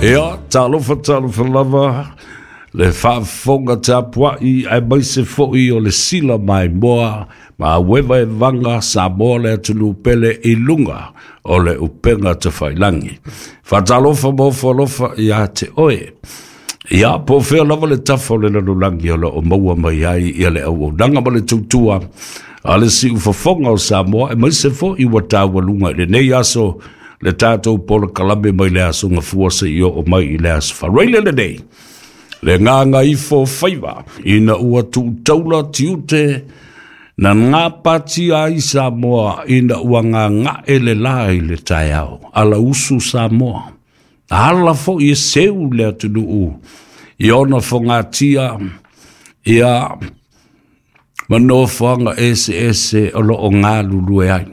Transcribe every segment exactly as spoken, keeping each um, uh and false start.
Ia, talofa talofa lava le faafofoga tapuai aemaise foi o le sila maimoa ma uevaevaga Samoa le atunuu pele i luga o le upega tafailagi. Faatalofa ma ofo alofa ia te oe. Ia, po o fea lava le tafa o le lalolagi o lo o maua mai ai ia le auaunaga ma le tautua a le siufofoga o Samoa, aemaise foi ua taualuga i lenei aso le tatou polokalame mai le aso Gafua seia oo mai i le aso Faraile lenei. Le gagaifo faiva ina ua tuutaula tiute na gapatia ai Samoa ina ua gagae le la i le taeao. Alausu Samoa. Ala foi e seu le atunuu i ona fogatia ia ma nofoaga eseese o lo o galulue ai.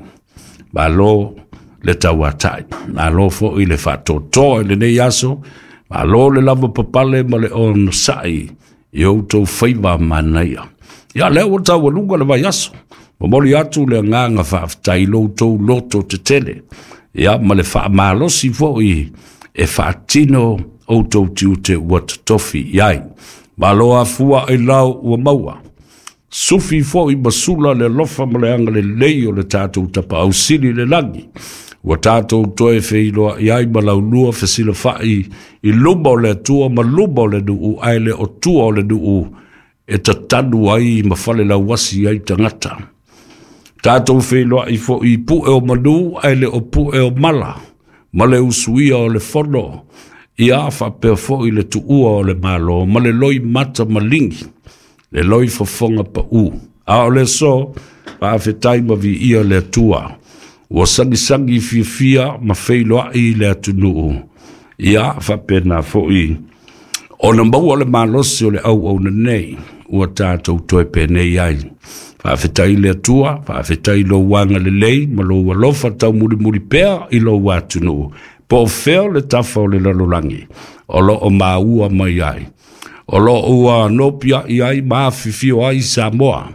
Malo le tauatai, malo foi le faatoatoa i lenei aso, malo le lava papale ma le onosai i outou faiva manaia. Ia, lea ua taualuga le vaiaso, momoli atu le agaga faafetai i lo outou loto tetele, ia ma le faamalosi foi e faatino outou tiute ua totofi i ai. Malo afua i lau ua maua. Sufi foi ma sula le alofa ma le agalelei o le tatou Tapaau Sili i le lagi. Ua tatou toe feiloai ai ma laulua fesilafai i luma o le Atua ma luma o le nuu, ae le o tua o le nuu e tatanu ai ma fale lauasi ai tagata. Tatou feiloai foi i pue o manu, ae le o pue o mala, ma le usuia o le fono, ia faapea foi le tuua o le Malo, ma le loi mata maligi, le loi fofoga pau. A o le aso, faafetai ma viia le Atua. Ua sagisagi fiafia ma feiloai le atunuu. Ia faapena foi ona maua le malosi o le auauna nei, ua tatou toe penei ai. Faafetai le Atua, faafetai lou agalelei ma lou alofa taumulimuli pea i lou atunuu. Po o fea le tafa o le lalolagi o lo o maua mai ai. O lo o ua nopiai ai ma afifio ai Samoa.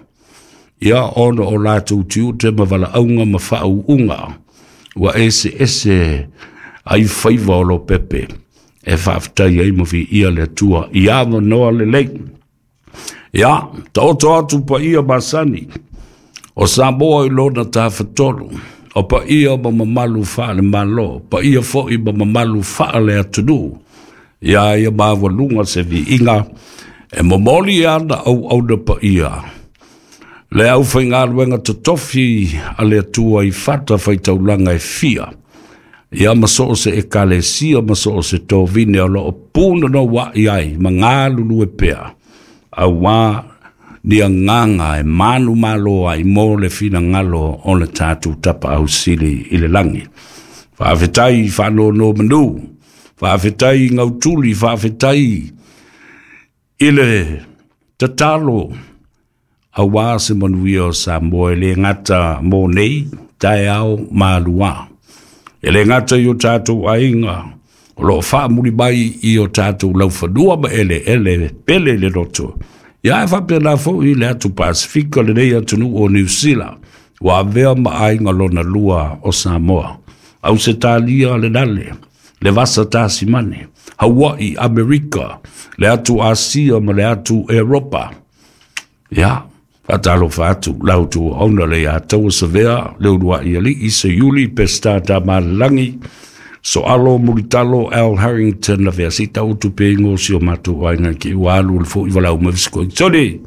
Ia ona o latou tiute ma valaauga ma faauuga ua eseese ai faiva o lopepe e faafetai ai ma viia le Atua i avanoa lelei. Ia, taoto atu paia masani o Samoa i lona tafatolu, o paia ma mamalu faale-Malo, paia foi ma mamalu faale-atunuu. Ia ia maualuga se viiga e momoli ana auauna paia le aufaigaluega totofi a le Atua i fata faitaulaga e fia, ia ma so o se ekalesia ma so o se tovine o lo o punanaua'i ai ma galulue pea, auā ni agaga e manumalo ai mo le finagalo o le tatou Tapaau Sili i le lagi. Faafetai faanonomanu, faafetai gautuli, faafetai i le tatalo auā se manuia o Samoa e le gata mo nei taeao ma aluā. E le gata i o tatou aiga o lo o faamuli mai i o tatou laufanua ma eleele pele i le loto. Ia e faapena foi le atu Pasifika, lenei atunuu o Niu Sila, ua avea ma aiga lona lua o Samoa. Ausetalia le nale, le vasa Tasimane, Hawaii, Amerika, le atu Asia ma le atu Eropa. Ia, faatalofa atu la outou auauna le ia taua savea le uluai alii Seiuli Peseta Tamalelagi Soalo Mulitalo Al Harrington na vea sita utu pe ingo si o matou aiga ki ua alu le foi walau mai fisiko. Soli,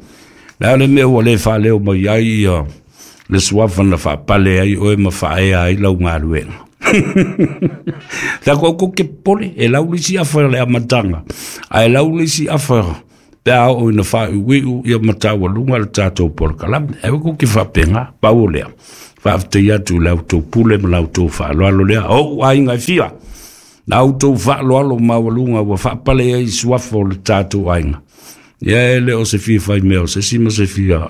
le a le mea ua le faaleo mai ai ia le suafa na faapale ai oe ma faaea ai lau galuega. Ta ko ko ke pole e lau le isi afa le amataga, ae lau le isi afa pe a oo ina faaiuiu ia ma taualuga le tatou polokalame. E ko ke faapega pau o lea. Faafetai atu i la outou pule ma la outou faaaloalo lea. O ou aiga e fia, la outou faaaloalo maualuga ua faapale ai suafa o le tatou aiga. Ia e le o se fia fai mea o se isi ma se fia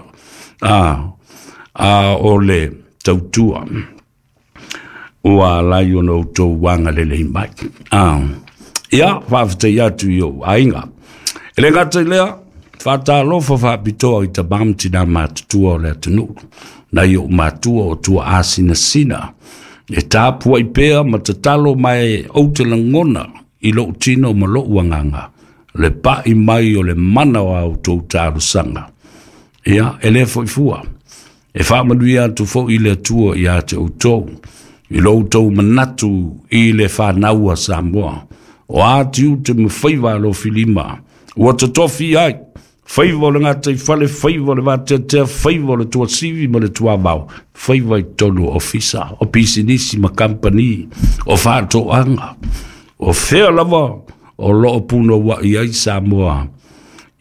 a, a o le tautua ua alai ona outou agalelei mai. Ah. Ia, faafetai atu i ou aiga. E le gata i lea, faatalofa faapitoa i tamā ma tinā matutua o le atunuu, nai ou matua o tua asinasina, e tapuai pea ma tatalo mai ou te lagona i lou tino ma lou agaga le pa'i mai o le mana o a outou talosaga. Ia e lē fo'i fua e faamanuia atu fo'i le Atua iā te outou i lo outou manatu i le fanau a Samoa. O a tiute ma faiva alofilima ua totofi ai, faiva o le gataifale, faiva o le vateatea, faiva o le tuasivi ma le tuavao, faiva i totonu o ofisa, o pisinisi ma kampani, o faatoaga, o fea lava o loo punoua'i ai Samoa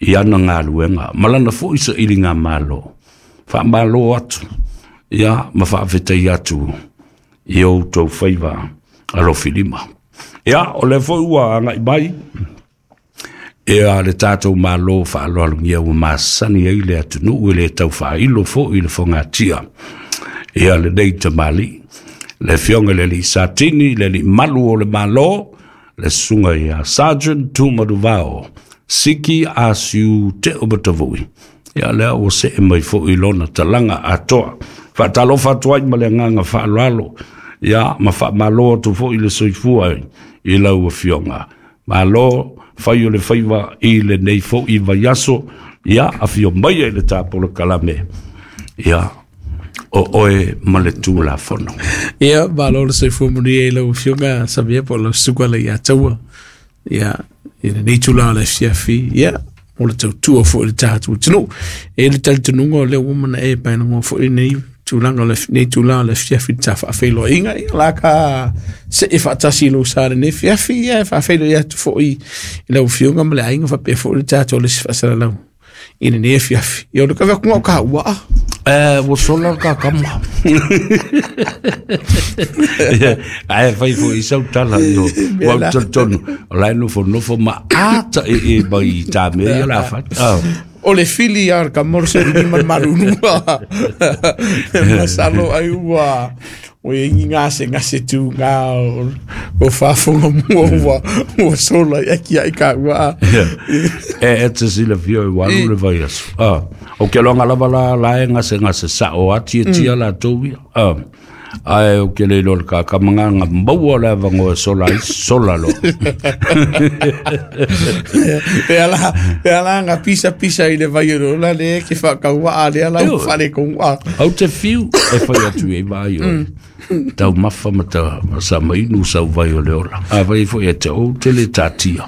i ana galuega ma lana fo'i sailiga malo. Faamālō atu ia ma faafetai atu i outou faiva alofilima. Ia o le fo'i ua aga'i mai ia le tatou Malo faaaloalogia ua masani ai le atunuu e lē taufaailo fo'i le fogatia ia lenei tamalii, le afioga i le alii Satini, le alii malu o le Malo, le susuga ia Sergeant Tumanuvao Siki Asiu Te'omatavui. Ia lea ua se'e mai fo'i lona talaga atoa. Faatalofa atu ai ma le agaga faaaloalo, ia ma faamālō atu fo'i le soifua i lau afioga. Malo fai o le faiva i lenei fo'i vaiaso, ia afio mai ai le tapolokalame ia o oe ma le Tulafono. Ia, malo le soifua manuia i lau afioga Samia po o lau susuga le Iataua. Ia, i lenei tulaga o le afiafi, ia, o le tautua foi i le tatou atunuu. E le talitonuga o lea ua mana e paelagoa foi nei tulaga o le nei tulaga o le afiafi le ta faafeiloaiga. Ia la ka see faatasi i lou sa lenei afiafi, ia e faafeiloai atu foi i lau afioga ma le aiga faapea foi le tatou le isi faasalalau i lenei afiafi. Ia o le kave atu o ka ua. Eh, ua sola ka kama. Ae fai foi i sau tala io. Ua talitonu o la e nofonofo ma ata e e mai i tā mea ia la fai. O le fili a ka morse ni man marunua. Masalo ai ua o e ingi ngase ngase tu ngā o, o whaafonga mua ua, ua sola i aki ai ka ua. E e te sila fio i walu le vai aso. Ah, o ke loanga lava la la e ngase ngase sa o ati e tia la tau ia. Ah, ae o ke le ilo le kakamanga nga maua le avango e sola ai sola lo. E ala, e ala nga pisa pisa i le vai o la le ke whakaua a le ala u whare konga. Au te fiu e whai atu e vai o. Tau mafa ma ta sa mainu sau vai o le ola. A vai foi e te o te le tatia.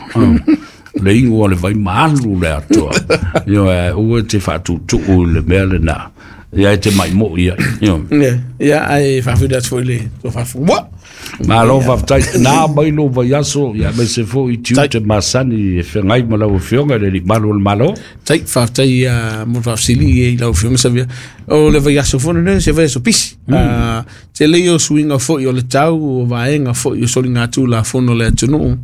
Le ingoa le vai maalu le atoa. Io e ua te whaatutu'u i le mea le nā. Ia e te mai mo ia. Io. Ia ai whawhira atu foi le tō whawhua. Malo whawhtai. Nā mai lo vai aso. Ia me se fo i tiu te masani e whengai ma lau afioga le li malu o le malo. Tai whawhtai mo whawhsili i lau afioga Savia. O le vai aso fono ne se vai aso pisi. Te lei o suinga foi o le tau o vaenga foi o soli ngā tū la fono le atunuu.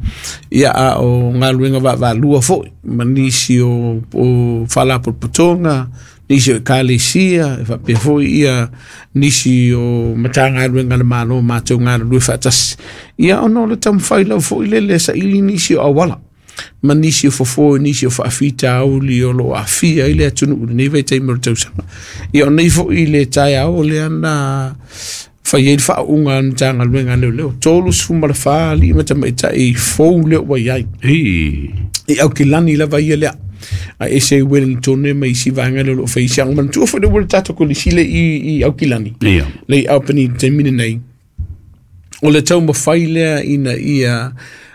Ia a o ngā luenga va va lua foi. Ma nisi o, o whalapotopotonga. Nisi o ekalesia, e whapea foi ia nisi o matanga luenga le malo mātou ngā lue whaatasi. Ia ono le tamwhai lau foi lele sa ili nisi o awala. Ma nisi o fofo, nisi o whaafita auli o lo afia i le atunu ule nei vai taimi o le tausanga. Ia o nei foi le tae ao le ana whai e le whaunga matanga luenga leo leo. Tolu sfuma le wha li matamaitai fou leo wai ai. I au ki lani lava ia lea. A ese i Wellington e mai si vanga le lo whaisi ang man tua whai le tato ko le sile i, i Aukilani. Ia. Le i Albany te mine nei. O le tau mawhai lea ina ia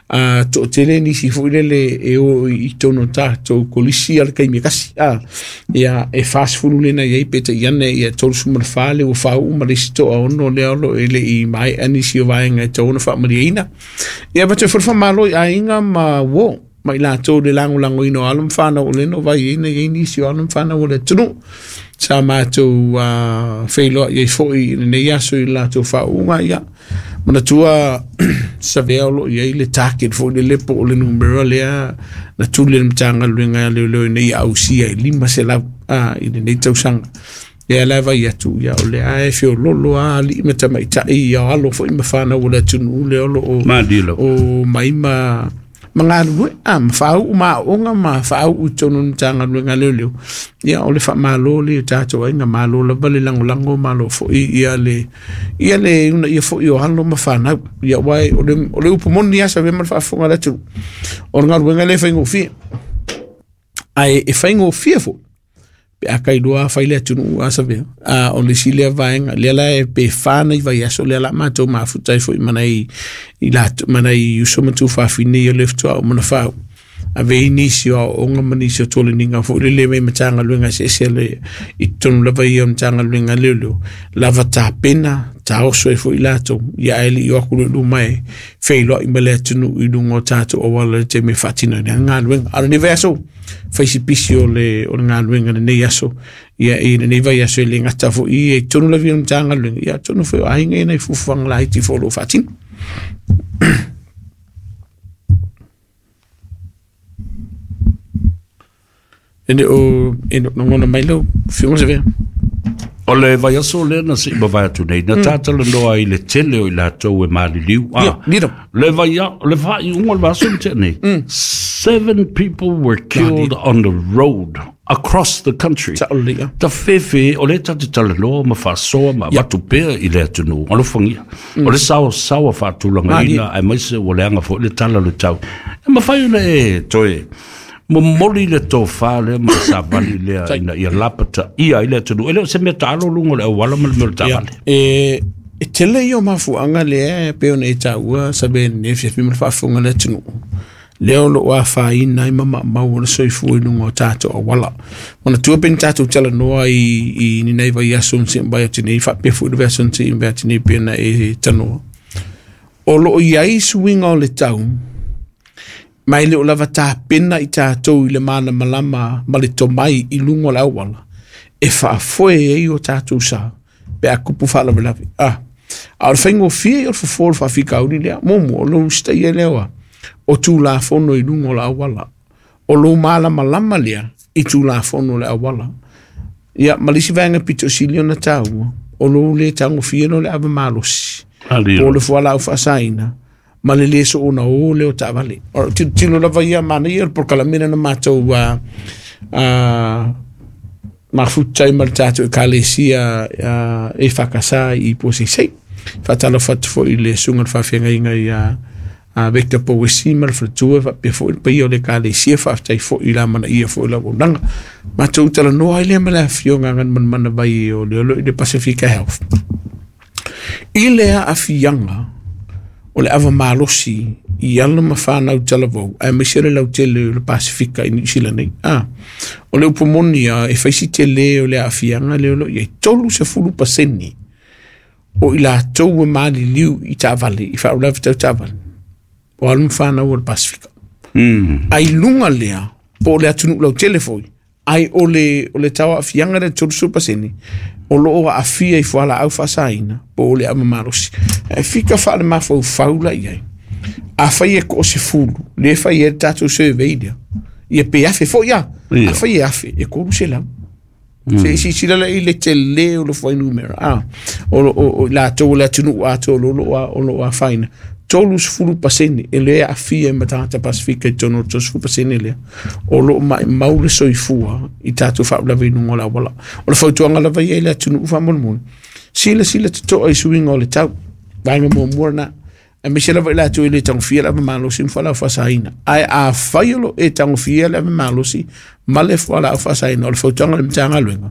a to tele nisi foi lele e o i tono tātou kolisi ala kai kasi. A, ia e fast fulu lena i peta i ane ia tolu suma le whale o whau ma le sito a ono le olo e le i mai anisi o vaenga e tauona wha mariaina. Ia patu whai malo i ainga ma wo. Mai lātou le lango lango ino alam whānau o leno vai ina i nisi o alam whānau o le tunu. Sa mātou uh, whailoa i foi i nei aso i lātou whaunga ia. Mana tua sa vea o lo i le target foi le lepo o le numera lea na tuli le mtanga luenga leo leo nei au sia i lima se lau uh, i le nei tausanga. Ia la vai atu ia o le ae fio lolo a li mata mai tai ia alo foi ma whānau o le tunu le olo o, o maima Ma galulue a ma faauu ma aooga ma faauu i tonu o le Matagaluega a Leoleo. Ia o le faamālō lea i o tatou aiga, malo lava le lagolago, malo foʻi ia le ia le uunaia foʻi o alo ma fanau. Ia uae o le o le upu moni lava sa ma le faafofoga a le atunuu, o le galuega lea e faigofie, ae e faigofie foʻi pe a kailoa fai le atunuu a savea. A o le isi lea vaega lea la e pe fa nei vaiaso lea la matou mafuta ai foʻi ma nai i latou ma nai uso ma tuafafine ia le fetoaʻu ma na fau ave ai nisi o aoaoga ma nisi o toleniga foʻi lele mai Matagaluega eseese le i totonu lava ia o Matagaluega leoleo lava tapena taoso ai foʻi latou. Ia ae leʻi o aku le luma e feiloai ma le atunuu i luga o tatou auala i le taimi e faatinoina ai le galuega. A o lenei vaiaso faisipisi o le o le galuega lenei aso ia i lenei vaiaso e le gata foʻi ia i totonu lava ia o le Matagaluega, ia atonu foi o aiga ia nai fuafuaga laiti foi o loo faatino. E le o e logona mai lau afioga Savea. O le vaiaso lea na seʻi mavae atu nei na tatalanoa ai le tele o i latou e maliliu a le vaia le faaiuga o le vaiaso na tea nei. Seven people were killed on the road across the country. Saʻolelei Tafefe o le tate talanoa ma faasoa ma avatu pea i le atunuu alofagia o le saosaoa faatulagaina aemaise ua leaga foʻi le tala o le tau e mafai ona e toe momoli le tofā lea ma le savali lea ina ia lapataia ai le atunuu. E le o se mea taalo luga o le auala ma le mea o le taavale. E e tele ia o mafuaaga lea e pei ona e taua sa lenei fiafi ma le faafofoga le atunuu lea o loo afaina ai ma maumau o le soifua i luga o tatou auala. Manatua pe ni tatou talanoa i i ni nai vaiaso na seʻi atu nei faapea foʻi le vaiaso na seʻi atu nei pe na e tanoa. O loo iai suiga o le tau ma e le o lava tapena i tatou i le malamalama ma le tomai i luga o le auala e faafoe ai o tatou sa pe a kupu faalavelave. A a o le faigofie o le fofo o le faafikauli lea muamua o lou usitaia lea oa o tulafono i luga o le auala o lou malamalama lea i tulafono o le auala. Ia ma le isi vaega pito sili ona taua o lou lē tagofie lo le ava malosi po o le fualaau faasaina ma le lē soona ō lea o taavale. O tilotilo lava ia manaia le polokalame na matou a mafuta ai ma le tatou ekalesia e fakasa i Puaseisei. Faatalofa atu foʻi i le susuga le faafeagaiga ia a Victor Powesi ma le faletua faapea foʻi le paia o le ekalesia. Faafetai foʻi i le amanaia foʻi o le auaunaga. Matou talanoa ai lea ma le afioga Aganomanamana vai o le olo i le Pasifika Health i le aafiaga o le ava malosi i alo ma fanau talavou aemaise le lautele o le Pasifika i Niu Sila nei. A o le upu moni a e faisi tele o le aafiaga lea o loo iai tolu sefulu pasene o i latou e maliliu i taavale i faalavelave tau taavale o alo ma fanau o le Pasifika. Ai luga lea po o le atunuu lautele foi ai o le o le tau aafiaga lea tolu sefulu pasene o loo aafia i fualaau faasaina po o le ava malosi. E fika faalemafaufau la i ai afai e toasefulu lea fai ai le tatou survey lea ia pe afe foʻi a afai e afe e tolu selau se silasila la i le tele o le fuainumera a o o latou o le atunuu atoa o loo o loo afaina tolu sefulu pasene e lea aafia ma tagata Pasifika i totonu o le tolu sefulu pasene lea o loo maumau le soifua i tatou faalavelave i luga o le auala. O le fautuaga lava ia i le atunuu faamolemole silasila totoa i suiga o le tau vaega muamua lena aemaise lava i latou e le tagofia le ava malosi ma fualaau faasaina. Ae afai o loo e tagofia le ava malosi ma le fualaau faasaina o le fautuaga a le Matagaluega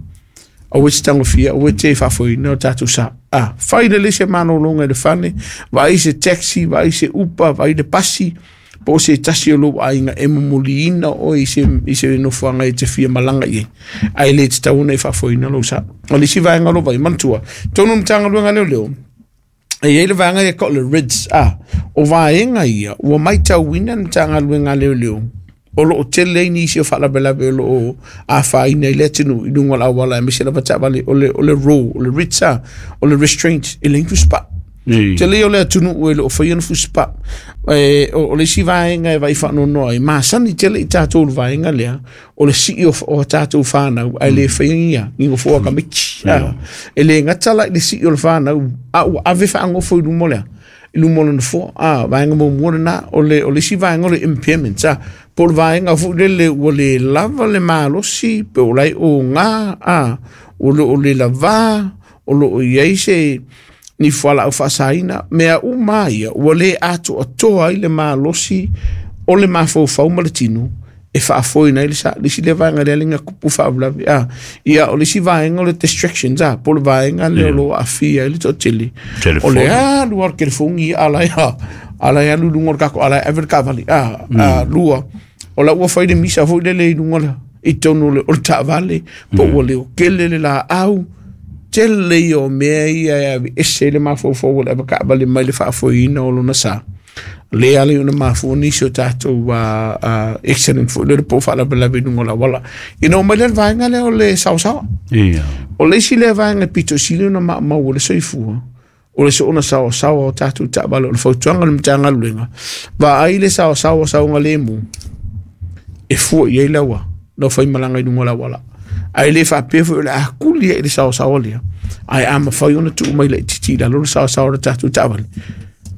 aua e te tagofia aua e te faafoeina o tatou sa a fai lelei se malologa i le fale vaai se taxi vaai se upa vaai le pasi po o se tasi o lou aiga e momoliina oe i se i se nofoaga e te fia malaga i ai ae le tatau ona e faafoeina lou sa. O le isi vaega o lou vai manatua tonu Matagaluega leoleo e iai le vaega ia ka o le RIDS a o vaega ia ua matauina le Matagaluega a Leoleo o loo tele ai nisi o faalavelave o loo afaina i le atunuu i luga o le auala aemaise lava taavale o le o le RAW o le RIDS a o le restraint e leai ni fusipaa. Tele ia o le atunuu e loo faia na fusipaa. E o le isi vaega e vaai faanoanoa ai masani tele i tatou le vaega lea o le sii o, o tatou fanau ae le faia ia ni nofoa tamaiti. E le gata la i le sii o le fanau a ua ave faagofo i luma o lea I luma o lona foa a vaega muamua lena o le o le isi vaega o le impairment a po o le vaega foi lele ua le lava le malosi pe o lai oga a o loo le lavā o loo iai se ni fualaau faasaina mea uma ia ua lē atoatoa ai le malosi o le mafaufau ma le tino e faafoeina ai le sa le isi lea vaega lea le tupu faalavelave a ia o le isi vaega o le distractions a po o le vaega lea o loo aafia ai le toatele o le alu a le telefoni ala ia ala ia alu i luga o le kako ala e ave le taavale a a lua o la ua fai le misa foi lele i luga le i totonu o le taavale po ua leokele le laau tele ia o mea ia e aveese ai le mafaufau o le avetaavale mai le faafoeina o lona sa le ala i ona mafua nisi o tatou uh, uh, accident foi lele po o faalavelave i luga o le auala ina oo mai lea le vaega lea o le saosaoa Ia. o le isi lea vaega e pito sili ona maumau o le soifua o le soona saosaoa o tatou taavale o le fautuaga o le Matagaluega vaai le saosaoa saogalemu e fua i ai le aua lau faimalaga i luga o le auala ae le faapea foi o le a kuli ai i le saosaoa lea ae a mafai ona tuu mai laitiiti i lalo le saosaoa o le tatou taavale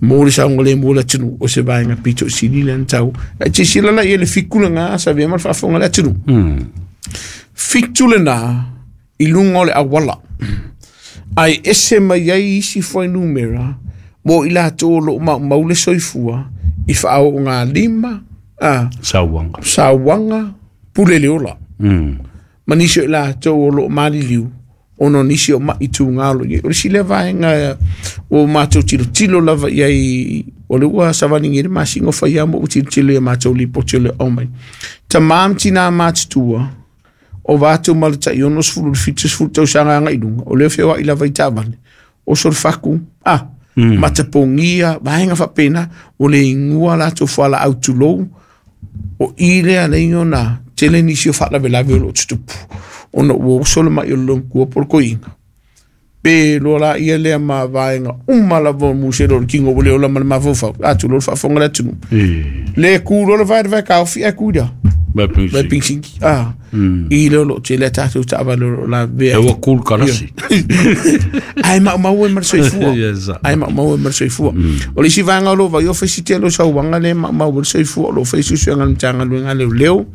mo le saogalemu o le atunuu o se vaega pito sili lea na tau ae silasila la i le fitu lena sa avea ma le faafofoga a le atunuu fitu lena i luga o le auala ae ese mai ai isi fuainumera mo i latou o loo maumau le soifua i faaoogalima a Sauaga. Sauaga pule le ola Mm. ma nisi o i latou o loo maliliu ona o nisi o mai tuga o loo iai o le isi lea vaega ua matou tilotilo lava i ai o le ua savaligia le masina o faia ma ua tilotilo ia matou lipoti o le aumai tamā ma tinā matutua o va atu ma le tai ono sefulu i le fitu sefulu tausaga agai i luga o lea feoai lava i taavale oso le faku a mm. matapogia vaega faapena o le igua latou fualaau tulou o i lea alai ona tele nisi o faalavelave o loo tutupu ona ua oso le mai o le lomatua po o le toeaina pe loa laia lea ma vaega uma lava o musele o le tino ua le ola ma le mafaufau a tulou le faafofoga le atunuu E. le ku loa le vae le vae taofi ae ku ia Vai vai pinsi. pingsiki a i lea o loo tele a tatou taavale o loo lavea E ua kul karasi. Ae maumau ai ma le soifua Yes. ae maumau ai ma le soifua o le isi vaega o loo vai o faisi tele o sauaga lea e maumau ai le soifua o loo fai suesuega a le Matagaluega a Leoleo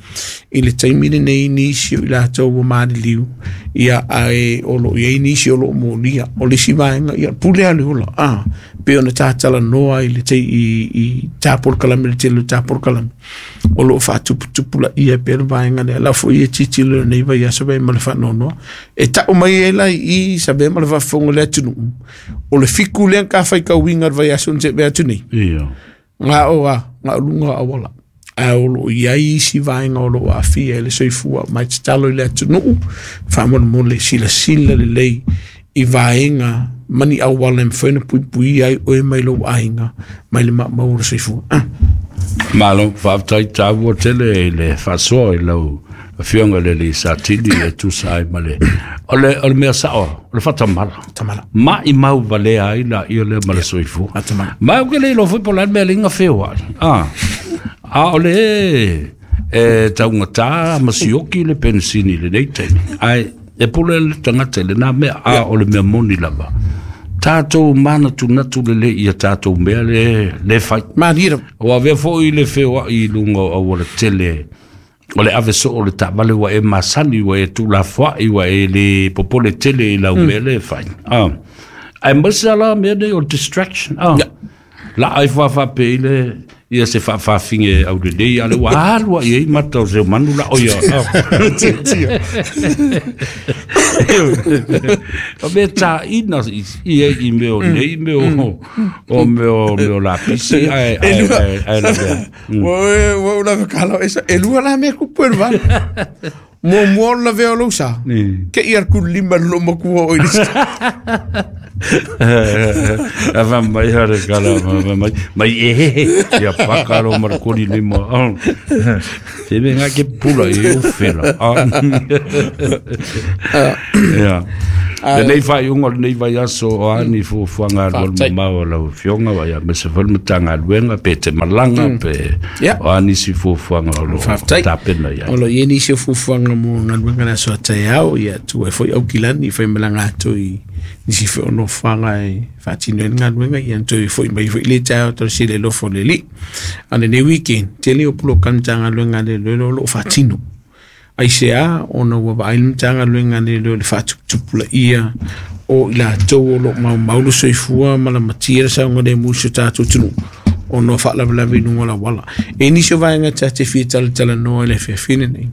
i le taimi lenei nisi o i latou ua maliliu ia ae o loo iai nisi o loo molia o le isi vaega ia pule a le ola a pe ona tatalanoa i le tai i, i tapolokalame le tele o tapolokalame o loo faatuputupulaia pea le vaega lea la foi e tilotilo i lenei vaiaso vai ma le faanoanoa e tau mai ai la i i sa avea ma le faafofoga le atunuu o le fiku lea ka faitauina le vaiaso na seʻe atu nei Ia. ga o a ga o luga o auala ae o loo iai isi vaega o loo aafia i le soifua mai tatalo i le atunuu faamolemole silasila lelei i vaega ma ni auala e mafai ona puipuia ai oe mai lou aiga mai le maumau o le soifua ah. Malo, faafetai taua tele i le faasoa i lau afioga i le alii Satini e tusa ai ma le o le o le mea sao o le faatamala. Tamala. Maimau valea ai laia lea ma le soifua. Faatamala. Ma ou ke le iloa foi po o le a le mea le feoai. Ah. A o le e taugatā ma sioki le penisini i lenei taimi. Ae e pule le tagata i lenā mea a o le mea moni lava. Tatou manatunatu lelei ia tatou mea le le fai. Malie lava. Ua avea foi le feoai i luga o auala tele o le ave soo o le taavale ua e masani ua e tuulafoai ua e le popole tele i lau mea le fai. Ah. Ae maise ala mea nei o le distraction. Ah. Ya. La ai faafaapei le ia se faafaafige aulelei a le ua alu ai ai mata o se manu la o ia. Ah. O mea taina i i ai i mea o nei mea o o mea o mea o lapisi ae ae ae ae la mea. Ua ua ou lava kala esa e lua la mea kupu e le vala. Muamua o le lavea o lou sa. Ni. Ke ia le kulima le loomatua o i le Ava mai hare kala va mai mai e ia paka ro mar kori lima. Se me nga ke pula e o fela. Ya. Lenei faaiuga o lenei vaiaso o ani fuafuaga Faafetai. alualumamao o lau afioga ia aemaise foi le Matagaluega pe te malaga pe Ya. o a nisi fuafuaga o loo Faafetai. tapena i ai. O loo i ai nisi o fuafuaga mo galuega le aso a taeao ia tu ai foi Aukilani i faimalaga atu i Nisi foi o nofoaga e faatino ai le galuega ia na toe fo'i mai foi le taeao talosia le alofa o le Alii. A o lenei weekend tele o polokalame Matagaluega a Leoleo o loo faatino. Aisea ona ua vaai le Matagaluega a Leoleo i le faatuputupulaia o i latou o loo maumau le soifua ma lamatia le saogalemu i si o tatou atunuu ona o faalavelave i luga o le auala. E nisi o vaega ta te fia talatalanoa i le afiafi lenei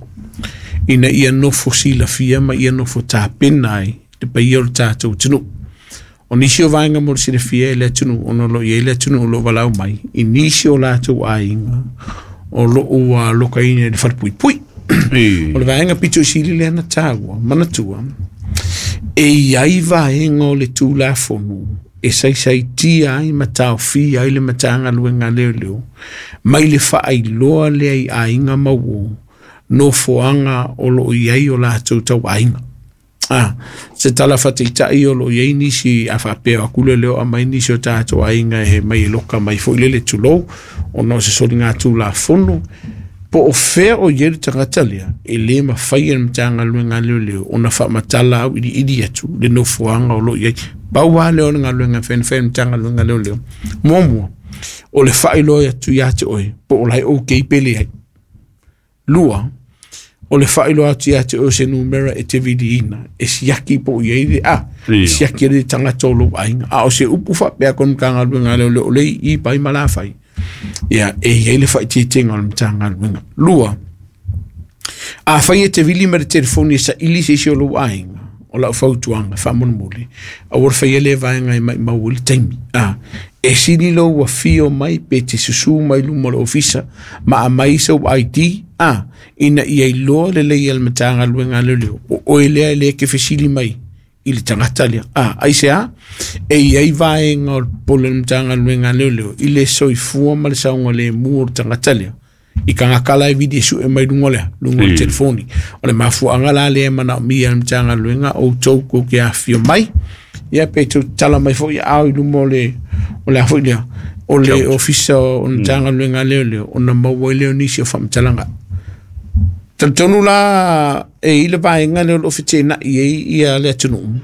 ina ia nofo silafia ma ia nofo tapena ai le paia o le tatou atunuu. O nisi o vaega mo le silafia e le atunuu ona o loo i ai le atunuu o loo valaau mai i nisi o latou aiga o loo ua lokaina i le falepuipui. O le vaega pito i sili lea na taua, manatua, e i ai vaega o le Tulafono e saisaitia ai ma taofia ai le Matagaluega a Leoleo mai le faailoa lea i aiga ma uō nofoaga o loo i ai o latou tauaiga. Ah, se tala faataitai o loo i ai nisi a faapea atu le leo aumai nisi o tatou aiga e mai e loka mai foi lele tulou ona o se soliga tulafono po o fea o i ai le tagata lea e lē mafai e le Matagaluega a Leoleo ona faamatala au iliili atu le nofoaga o loo i ai. Pau lava lea o le galuega e fai e le Matagaluega a Leoleo. Muamua, o le faailoa atu ia te oe po o la e okay pe leai. Lua, o le faailoa atu ia te oe se numera e te viliina e siaki po o i ai le a Ia. siaki ai le tagata o lou aiga. A o se upu faapea ko le Matagaluega a Leoleo o le i pai ma la fai ia e i ai le faaitiitiga o le Matagaluega. Lua, a fai e te vili ma le telefoni e saili se isi o lou aiga, o lau fautuaga faamolemole, aua le faia lea vaega e maumau ai le taimi. A e sili lou afio mai pe te susū mai luma o le ofisa ma aumai sou I D a ina ia iloa lelei e le Matagaluega a Leoleo o oe lea e lē ke fesili mai i le tagata lea. A aisea e i ai vaega o le pole o le Matagaluega a Leoleo i le soifua ma le saogalemu o le tagata lea i tagata la e vili e sue mai luga lea luga o le Mm. telefoni. O le mafuaaga la lea e manaomia e le Matagaluega outou kou ke afifio mai ia pe tou tala mai foi ao i luma o le o le a foi lea o le Couch. ofisa o le Matagaluega a Leoleo ona maua ai lea o nisi o faamatalaga. Talitonu la e i le vaega lea o loo fetenai ai ia le atunuu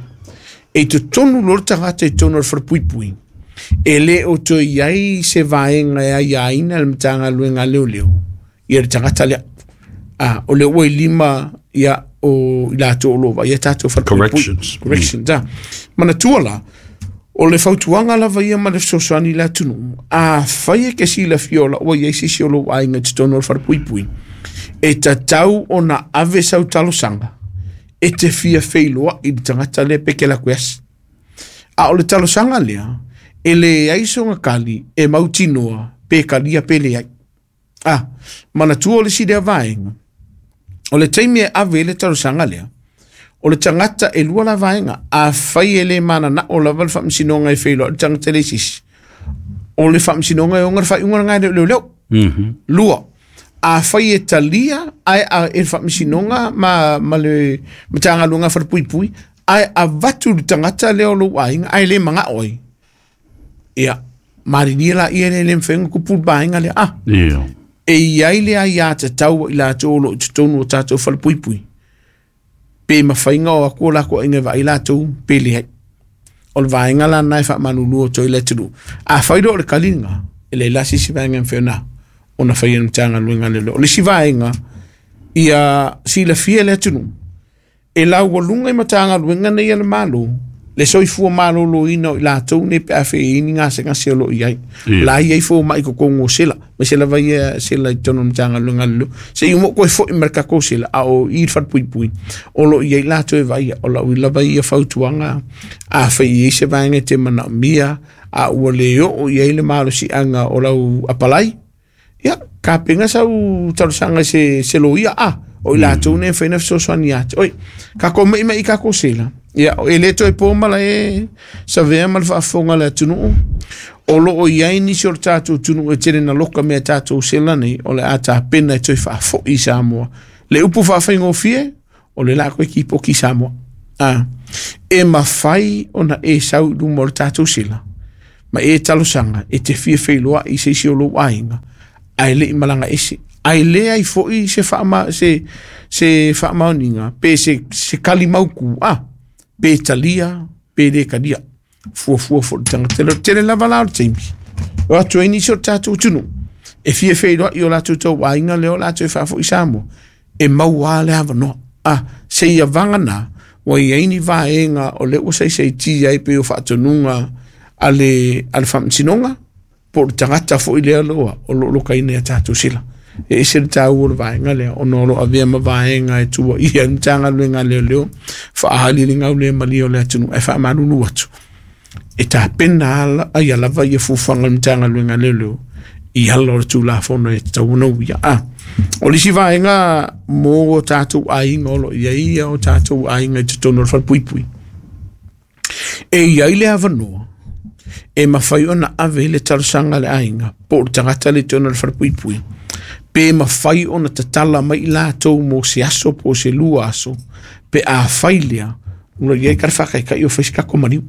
e totonu loa le tagata i totonu o le falepuipui e lē o toe i ai se vaega e aiaina le Matagaluega a Leoleo ia le tagata lea. A o le ua i lima ia o i latou o loo vaaia tatou falepuipui. Corrections. Corrections mm. Manatua la o le fautuaga lava ia ma le fesoasoani i le atunuu a fai e ke silafia o la ua i ai sisi o lou aiga i totonu o le falepuipui e tatau ona ave sau talosaga e te fia feiloai i le tagata lea pe ke laku e asi. A o le talosaga lea e leai soga kali e mautinoa pe kalia pe leai. A manatua o le isi lea vaega o le taimi e ave ai le talosaga lea o le tagata e lua la vaega a fai e lē mananao lava le faamasinoga e feiloai le tagata le sisi o le faamasinoga e oga le faaiuga lena e le o leoleo. Mhm. Lua, a fai e talia ae a e le faamasinoga ma, ma le Matagaluega Falepuipui ae avatu le tagata lea o lou aiga ae lē magao ai ia malilia laia le lē mafai ona kupu le vaega lea a Ia. e i ai le aiā tatau i latou o loo i totonu o tatou falepuipui pe mafaiga o aku o lakou aiga e vaai latou pe leai. O le vaega lana e faamalulua o toi le atunuu a fai loa o le kaliga e leai la se isi vaega e mafai ona ona faia e le Matagaluega a Leoleo. O le isi vaega ia silafia e le atunuu e laualuga i Matagaluega nei a le Malo le soifua malōlōina o i latou nei pe a fei ni gasegase o loo i ai. Ia. La i ai fomai totonu o sela ma se lava ia sela i totonu o le Matagaluega a Leoleo se i uma koe fo'i ma le takou sela a o i le falepuipui o loo i ai latou e vaaia. O lau lava ia fautuaga a fai i ai se vaega e te manaomia a ua lē oo i ai le malosiaga o lau apalai ia kapena sau talosaga i se se loia a o i latou nei e mafai ona fesoasoani ia te oe kakou maʻimaʻi kakou sela ia e lē toe po mala e savea ma le faafofoga a le atunuu o loo i ai nisi o le tatou atunuu e tele na loka mea tatou sela nei o le a tapena e toe faafo'i i Samoa le upu faafaigofie o le la koe kipoki i Samoa a e mafai ona e sau i luma o le tatou sela ma e talosaga e te fia feiloai i se isi o lou aiga ae leʻi malaga ese ae leai foʻi se faama se se faamaoniga pe se se kali mautu a pe talia Pe le kalia. Fuafua fo'i le tagata le tele lava la o le taimi. O atu ai nisi o le tatou atunuu e fia feiloai i o latou tauaiga lea o latou e faafo'i Samoa e maua le avanoa. A seia vagana ua iai ni vaega o lea ua saisaitia ai pei o faatonuga a le a le faamasinoga po o le tagata fo'i lea loa o loo lokaina ia tatou sila. E ese le taua o le vaega lea ona o loo avea ma vaega e tuuaia ai le Matagaluega a Leoleo faaali le gaulemalie o le atunuu ae faamalulu atu e tapena ala ia lava ia fuafuaga a le Matagaluega a Leoleo i ala o le Tulafono e tatau ona uia. A o le isi vaega mo o tatou aiga o loo i ai ia o tatou aiga i totonu o le falepuipui, e i ai le avanoa e mafai ona ave le talosaga a le aiga po o le tagata le totonu o le falepuipui pe mafai ona tatala mai i latou mo se aso po o se lua aso pe afai lea ua i ai ka le faataitai o fai se tatou maliu.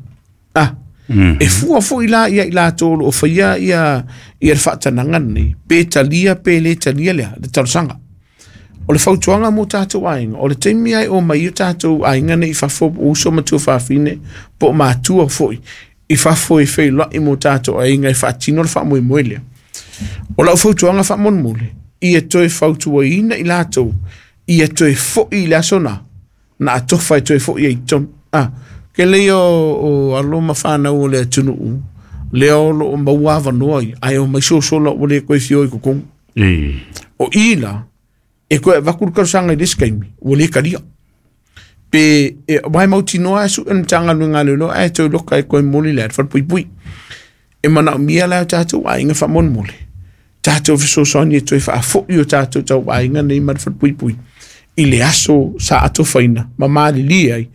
A Mm. e fua fo'i la ia i latou o loo faia ia ia le faatanaga lenei pe talia pe lē talia lea le talosaga. O le fautuaga mo tatou aiga o le taimi ai o mai o tatou aiga nei i fafo po o uso ma tuafafine po o matua fo'i i fafo e feiloai mo tatou aiga e faatino le faamoemoe lea. O lau fautuaga faamolemole ia toe fautuaina i latou ia toe fo'i i le aso na na atofa e toe fo'i ai i totonu. A ke lei o, o alo ma fanau o le atunuu lea o loo maua avanoa ia ae omai sosola ua le toe fio i totonu. E. O i la e toe avatu le talosaga i le isi taimi ua le talia. Pe e wae mautinoa e sue le Matagaluega a Leoleo ae toe loka e toe momoli le a le falepuipui. E manaomia la o tatou aiga faamolemole tatou fesoasoani e toe faafo'i o tatou tauaiga nei ma le falepuipui i le aso sa atofaina ma malilie ai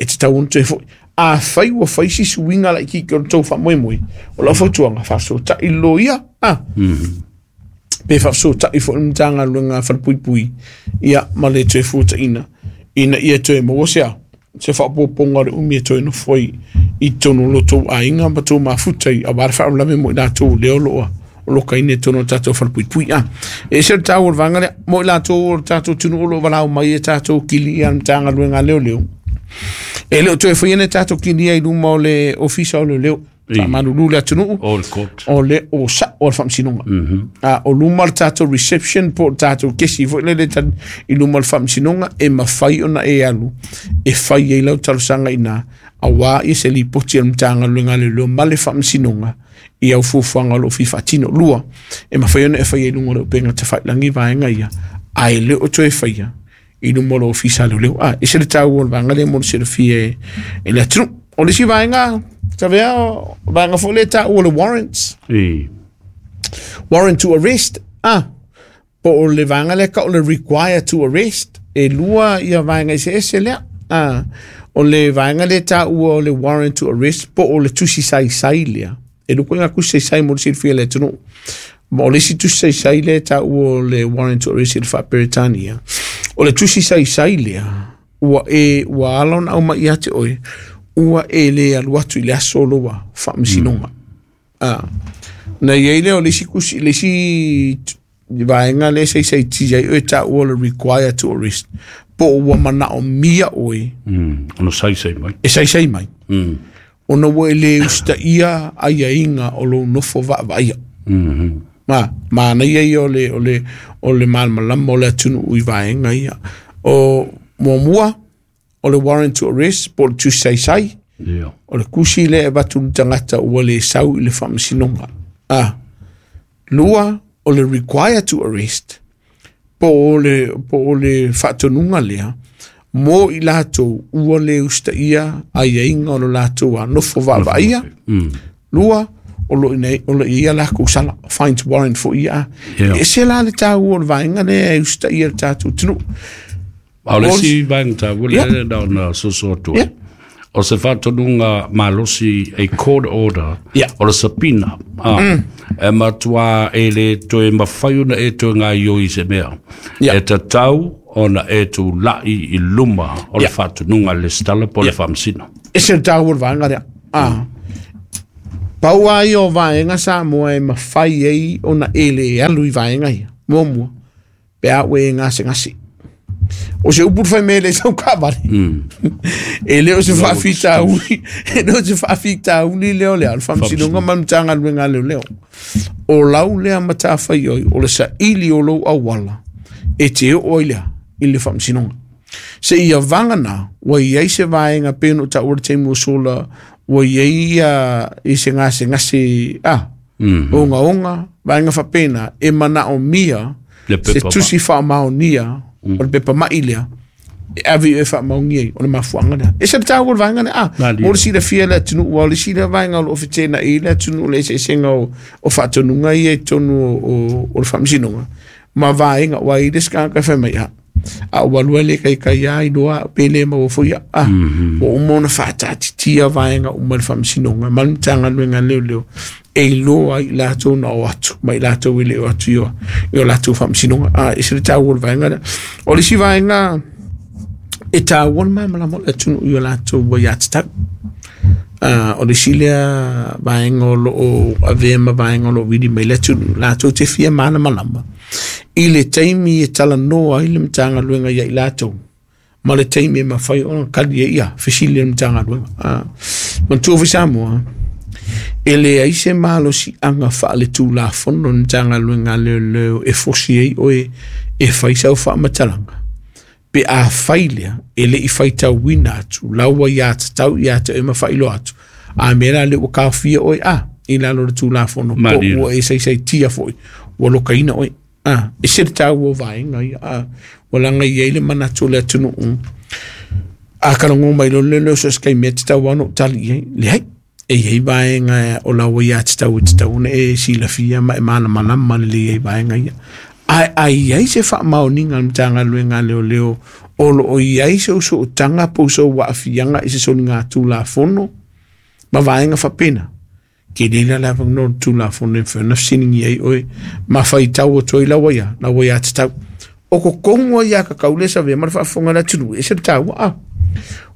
e tatau ona toe fo'i. Afai ua fai si suiga laitiiti o le tou faamoemoe, o lau fautuaga faafesootai le loia a pe faafesootai fo'i le Matagaluega a Falepuipui ia ma le toe fuataina ina ia toe maua se a se faaopoopoga o le umi e toe nofo ai i totonu o lo outou aiga ma tou mafuta i aua le faalavelave mo i latou lea o loo o lokaina i totonu o le tatou falepuipui. A e ese le taua o le vaega lea mo i latou o le tatou atunuu o loo valaau mai e tatou kili ia le Matagaluega a Leoleo. E le o toe faia ni tatou kilia i luma o le ofisa o Leoleo. I. Faamalulu le atunuu O le court. o le o sa'o o le faamasinoga. A o luma o le tatou reception po o le tatou kesi fo'i lele tali i luma o le faamasinoga e mafai ona e alu e fai ai lau talosaga ina auā ia se lipoti a le Matagaluega a Leoleo ma le faamasinoga i au fuafuaga o loo fia faatino. Lua, e mafai ona e faia i luga o le upega tafailagi vaega ia ae le o toe faia i luma o le ofisa a Leoleo. A ese le taua o le vaega lea mo le silafia e, e le atunuu. O le isi vaega tavea o vaega fo'i lea taua o le warrants. E. Warrant to arrest. A po o le vaega lea ka o le require to arrest. E lua ia vaega eseese lea. A o le vaega lea taua o le warrant to arrest po o le tusi saisai lea. E lua ituaiga tusi saisai mo le silafia e le atunuu. Ma o le isi tusi saisai lea taua o le warrant to arrest i le faaperetania. O le tusi saisai lea ua e ua ala ona aumai ia te oe ua e le alu atu i le aso o loa faamasinoga. A na iai lea o le isi tusi le isi vaega lea saisaitia ai oe taua o le require to arrest po o ua manaomia oe Mm. Ono saisai mai. e saisai mai Mm. ona ua e le usitaia aiaiga o lou nofo vaavaaia. Mm. Ma manaia ia o le o le o le malamalama o le atunuu i vaega ia. O muamua o le warrant to arrest po o le tusi saisai Ia. o le tusi lea e avatu i le tagata ua le sau i le faamasinoga. A lua o le require to arrest po o le po o le faatonuga lea mo i latou ua le usitaia aiaiga o lo latou a nofo vaavaaia. Mm. Lua o lo ina o lo ia lakou sala fines warrant fo'i ia. Yeah. E ese la le taua o le vaega lea e usitaia le tatou atunuu. A o le O- isi vaega taua Yeah. lea na ona soso atu ai. Yeah. O se faatonuga malosi a court order Yeah. o le subpoena. Ah, E matua e le toe mafai ona e toe gaoioi i se mea. Yeah. E tatau ona e tula'i i luma o le Yeah. faatonuga a le resitala po o le Yeah. faamasino. Ese le taua o le vaega lea. Ah. Pau lava ia o vaega Samoa e mafai ai ona e le alu i vaega ia. Muamua, pe a ua e gasegase. O se upu fai mele sau kavale. E le o se faafitauli, e le o se faafitauli lea o le ao faamasinoga ma le Matagaluega a Leoleo. O lau lea matafaioi o le saili o lou auala e te oo ai lea i le faamasinoga. Se ia vagana ua iai se vaega pei ona ou taua le taimi ua sola ua iai ia i se gasegase a ogaoga vaega faapena e manaomia se tusi faamaonia o le pepa mai lea e ave i e faamaonia ai o le mafuaaga lea. E se le taua o le vaega lea a mo le silafia le atunuu ua o le isi lea vaega o loo fetenaai le atunuu le eseesega o, o faatonuga ia i totonu o, o, o le faamasinoga ma vaega ua i le isi tagata e fai mai a a ua alua le kaikai a iloa pe le maua foi ia a ua uma ona faataatitia vaega uma i le faamasinoga ma le Matagaluega a Leoleo e iloa ai i latou na o atu ma i latou e le o atu i o i o latou faamasinoga a e se le taua o le vaega lea. O le isi vaega e taua le malamalama o le atunuu i o latou aiatatau. Uh, o le isi lea vaega o loo avea ma vaega o loo vili mai le atunuu latou te fia malamalama i le taimi e talanoa ai le Matagaluega ia i latou ma le taimi e mafai ona kali ai ia fesili le Matagaluega. Uh, manatua foi Samoa e leai se malosiaga faaletulafono le Matagaluega a Leoleo e fosi ai oe e fai sau faamatalaga pe a fai lea e lei faitauina atu lau aiatatau ia te oe ma faailoa atu a mea la lea ua taofia oe a i lalo o le tulafono po ua e saisaitia foi ua lokaina oe a e se le taua o vaega ia a ua laga i ai le manatu o le atunuu a kalago mai lo le leo so se kaimi e tatau lava ona ou tali i ai leai e iai vaega o lau aiatatau e tatau ona e silafia ma e malamalama lelei ai vaega ia. Ae a iai se faamaoniga a le Matagaluega a Leoleo o loo iai se usootaga po o sou aafiaga i se soliga tulafono ma vaega faapena tele la le avanoa o le tulafono e mafai ona fesiligia ai oe ma faitau atu ai lau aia lau aiatatau. O totonu ai aiatatau lea e savea ma le faafofoga a le atunuu e ese le taua a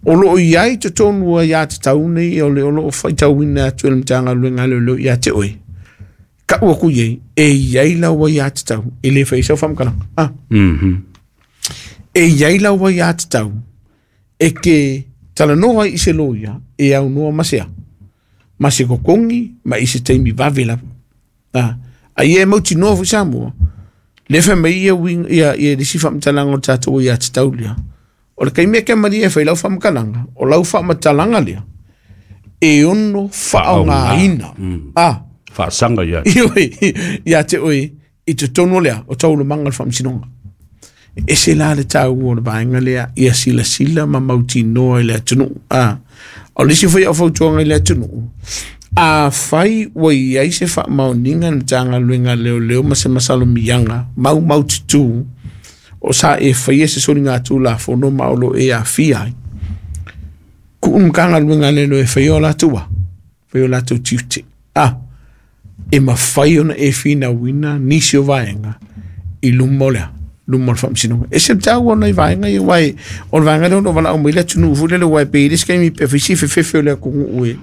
o loo iai totonu aiatatau nei o le o loo faitauina atu e le Matagaluega a Leoleo ia te oe. Kau aku iai e iai lau aiatatau e le fai sau faamatalaga a e iai lau aiatatau e ke talanoa ai i se loia e aunoa ma se a ma se kokogi ma i se taimi vave lava a ai e mautinoa foi Samoa le fai mai ia uiga ia ia le isi faamatalaga o le tatou aiatatau lea o le taimi e ke malie e fai lau faamatalaga o lau faamatalaga lea e ono faaaogaina a faasaga ia Ioe, ia te oe i totonu o lea o taualumaga o le faamasinoga. E ese la le taua o le vaega lea ia silasila ma mautinoa i le atunuu. A o le isi foi au fautuaga i le atunuu, afai ua iai se faamaoniga i le Matagaluega a Leoleo ma se masalomiaga maumaututū o sa e faia se soliga tulafono ma o loo e aafia ai, tuu le Matagaluega a Leoleo e faia o latou a faia o latou tiute a e mafai ona e finauina nisi o vaega i luma o lea luma o le faamasinoga. E se le taua o nai vaega ia aua e o le vaega lea o loo valaau mai le atunuu foi lele aua e pei i le isi taimi pe fai si fefefe o le atunuu e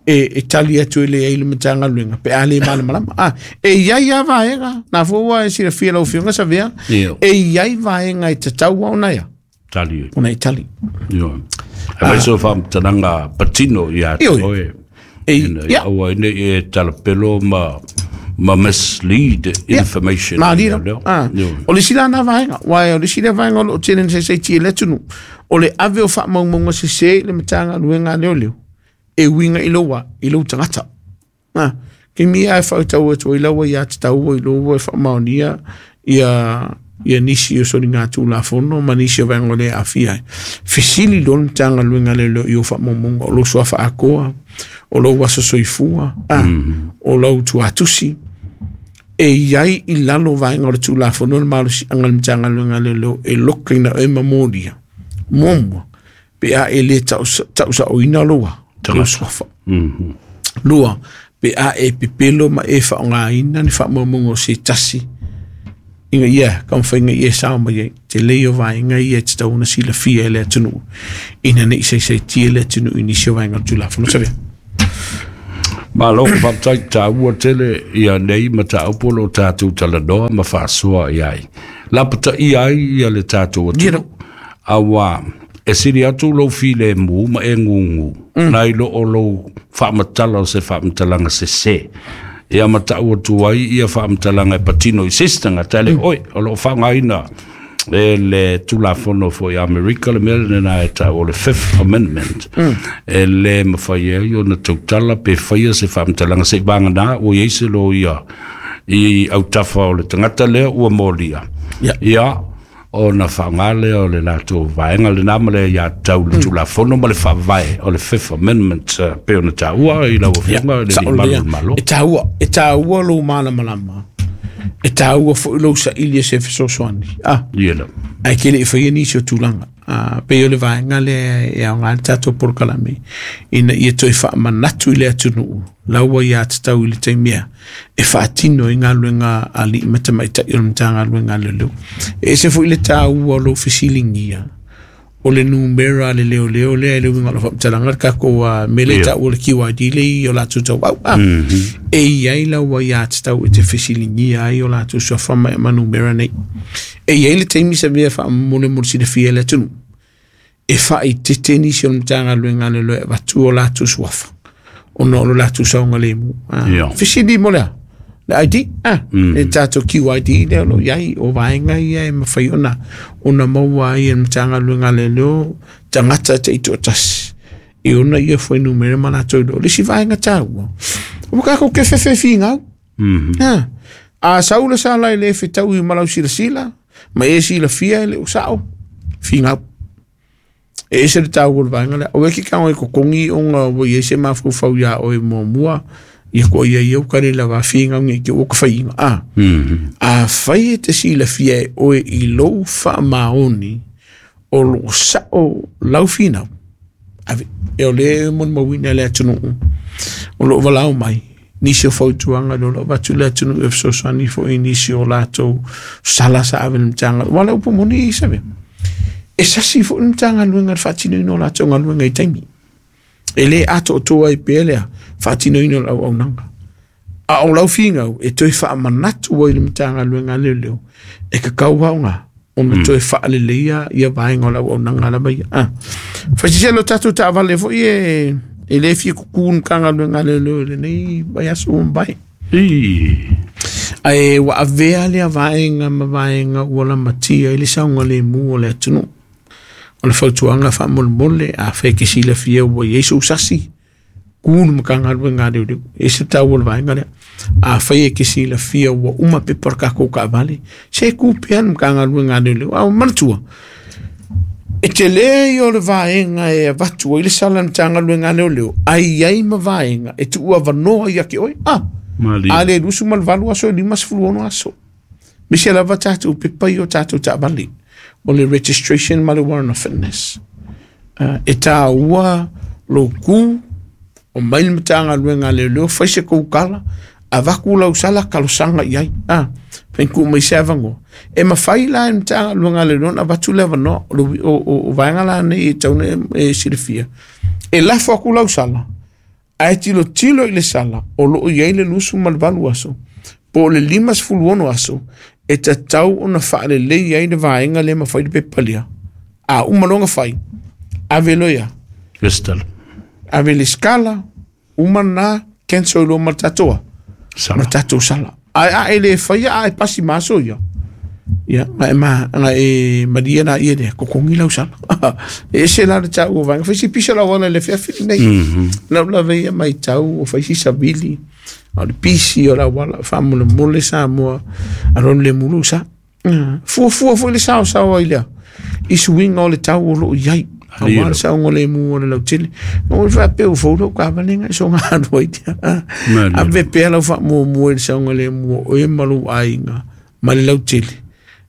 e e tali atu e leai le Matagaluega pe a le malamalama a e iai lava vaega na foi ua e silafia lau Afioga Savea e iai vaega e tatau ona ia tali ona e tali. Ioe. Aemaise o faamatalaga patino ia te oe. E Ina ia aua ai nei e talapelo ma ma mislead information. Ma lilo. Ah. O le isi la na vaega, aua o le isi lea vaega o loo tele ina saisaitia i le atunuu, o le ave o faamaumauga sese i le Matagaluega a Leoleo e uiga i lou a, i lou tagata. Ah. Taimi ia e faatau atu ai lau aiatatau ua iloa ua e faamaonia ia ia nisi o soliga tulafono ma nisi o vaega o le aafia ai. Fesili loa le Matagaluega a Leoleo i ou faamaumauga o lou suafa atoa, o lou aso soifua, a, o lau tuatusi, e iai i lalo o vaega o le tulafono le malosiaga o le Matagaluega a Leoleo e lokaina oe ma molia. Muamua, pe a e le tausaoina lou a, lou suafa. Lua, pe a e pepelo ma e faaaogaina ni faamaumauga o se tasi ina ia taumafaiga ia e sao mai ai te lei o vaega ia e tatau ona silafia e le atunuu ina nei saisaitia le atunuu i nisi o vaega o le Tulafono Savea. Malo faafetai taua tele ia nei mataupu o lo o tatou talanoa ma faasoa i ai. Lapataia ai ia le tatou atunuu. Auā e sili atu lou filemu ma e gugu nai lo o lou faamatala o se faamatalaga sesē ia ma taʻu atu ai ia faamatalaga e patino i se isi tagata e le oe o loo faaaogaina e le Tulafono foi Amerika le mea lena e taʻu o le Fifth Amendment e lē mafai ai ona tautala pe faia se faamatalaga seʻi vaganā ua iai se loia i autafa o le tagata lea ua molia Ia. Ia ona faaaoga lea o le latou vaega lenā ma le iā tau le Tulafono ma le Faavae o le Fifth Amendment eh, pe ona taua i lau afioga le Sao alii malu lea. o le Malo. E tāua, e tāua lou malamalama. E tāua foi lou saili e se fesoasoani. Ah, Ia la ae ke leʻi faia nisi o tulaga. Ah, pei o le vaega lea e aoga le tatou polokalame ina ia toe faamanatu i le atunuu laua ia tatau i le taimia e faatino i galuega aliʻi ma tamaitaʻi o le Matagaluega a Leoleo. E ese foi le tāua o lou fesiligia o le numera a le leoleo lea e le uiga o le faamatalaga le takou uh, mele Ia. taʻu o le Q I D le i o latou tauau ah. E iai laua ia tatau e te fesiligia ai o latou suafa ma ma numera nei. E iai le taimi sa mea faamolemole silafia e le atunuu e faaitete nisi o le Matagaluega a Leoleo e avatu o latou suafa ona o lo latou saogalemu. Ah. Ia. Fesili mo lea le I D, ah, le tatou Q I D lea o lo iai o vaega ia e mafai ona ona maua ai e le Matagaluega a Leoleo tagata taitoatasi e ona ia fuainumera ma latou iloa. O le isi vaega taua ua kakou kefefefigau. Ah. A sau le sala i le fetaui ma lau silasila ma e silafia e le usao figau. E ese le taua o le vaega lea. O e ke kago e kokogi ona ua iai se mafaufau iā oe muamua ia ko ia ia uka le lava figau nge ke ua ka faiga. Ah. A fai e te silafia e oe i lou faamaoni o loo sao lau finau. Ave, e o le molimauina e le atunuu o loo valao mai nisi o fautuaga le o loo avatu le atunuu e fesoasoani foi i nisi o latou sala sa ave le Matagaluega. Ua le upu moni i save. E sasi foi le Matagaluega le faatinoina o latou galuega i taimi. E lē atoatoa ai pea lea faatinoina o le auaunaga. A o lau figau e toe faamanatu ai le Matagaluega a Leoleo e kakau aoga ona toe faaleleia ia vaega o le auaunaga lava ia. Ah. Faisiselo tatou taavale foi e e lē fia kukū le Matagaluega a Leoleo i lenei vaiaso ua mavae. I Ae ua avea lea vaega ma vaega ua lamatia i le saogalemu o le atunuu. O le fautuaga faamolemole a fai ke silafia ua iai sou sasi ku le Matagaluega a Leoleo. E ese taua o le vaega lea. A fai e ke silafia ua uma pepa o le kakou kaavale se ku pea le Matagaluega a Leoleo. A o manatua e tele ia o le vaega e avatu ai le sala le Matagaluega a Leoleo ai iai ma vaega e tuu avanoa ia ke oe. Ah, Malie. a le lusu ma le valu aso e lima sefulu ono aso. Misi lava tatou pepa i o tatou taavale o le registration ma le warrant of fitness. Uh, e tāua lou ku o mai le Matagaluega a Leoleo fai se kou kala avaku lau sala kalosaga i ai. Ah, fainku mai se avanoa. E mafai la e le Matagaluega a Leoleo ona avatu le avanoa o, o, o, o vaega la nei e tau ona e silafia. E lafo aku lau sala ae tilotilo i le sala o loo iai le lusu ma le valu aso po o le lima sefulu ono aso e tatau ona faalelei ai le vaega lea ma fai le pepa lea. A uma loga fai ave loia Crystal ave le skala uma na cancel loa ma le tatou ma sala le tatou sala. Ae a e le faia a e pasi ma aso ia. Ia, nga e ma, nga e maria na ia lea, kokongi lau sala. E ese la le tau o vaega, faisi pisa lau ala le feafili nei. Lau lava ia mai tau o faisi savili, o le pisi o lau ala, faamolemole Samoa, alo le mulu sa. Fuafua foi le sao sao ai lea, i suiga o le tau o loo iai. Aua le saogalemu o le lautele. O le faapea ua fou lou kavalega i soga alu ai tia. Malie. Ave pea lau faamuamua i le saogalemu o oe ma lou aiga ma le lautele.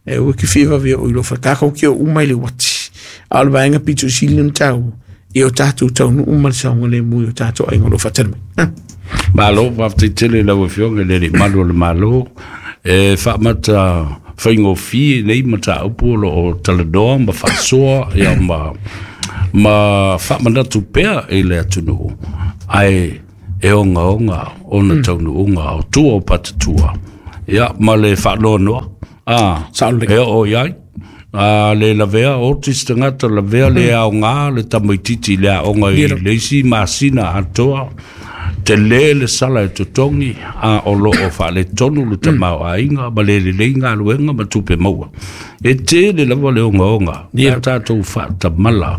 E ua ke fia vavea o i lou fale. Ke o uma i le uati. A o le vaega pito sili ona taua i o tatou taunuu ma le saogalemu i o tatou aiga o loo faatali mai. Ah. Malo faafetai lau afioga i le alii malu o le Malo e faamata faigofie nei mataupu o loo talanoa ma faasoa ia ma ma faamanatu pea i le atunuu ae e ogaoga ona taunuuga o tua o patatua ia ma le faanoanoa ah Sao lelei. e oo i ai A le lavea otis tangata lavea le aoga le tamaititi le aoga i le isi masina atoa te le le sala e totogi a o loo faaletonu le tamaoaiga ma le lelei galuega ma tupe maua. E tele lava le ogaoga a tatou faatamala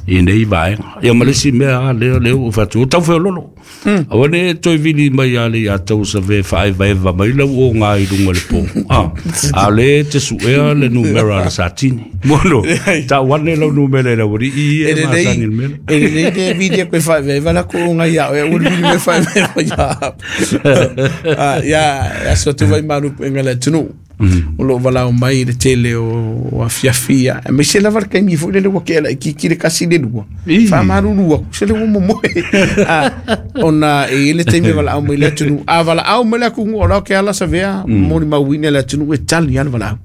i nei vaega. Ia ma le isi mea a lea lea ua fatu o taufeololo. Aua ne toe vili mai a le ia tau save faaevaeva mai lau oga i luga le po. Ah, a le te suea le numera le satini. Mono, tau ane lau numera i lau i e masani le mele. E lelei le vili e koe faaevaeva la ko oga ia oe, ua le vili me faaevaeva ia. Ia, aso atu vai malu puega le atunuu. O loo valao mai le tele o afiafi ia. E maise lava le kaimi foi lele ua kea laititi le kasi le lua. Faamalulu aku se le ua momoe. Ona e i le taimi valaau mai le atunuu. A valaau mai le atunuu o lao ke ala savea molimauina le atunuu e tali a le valaau.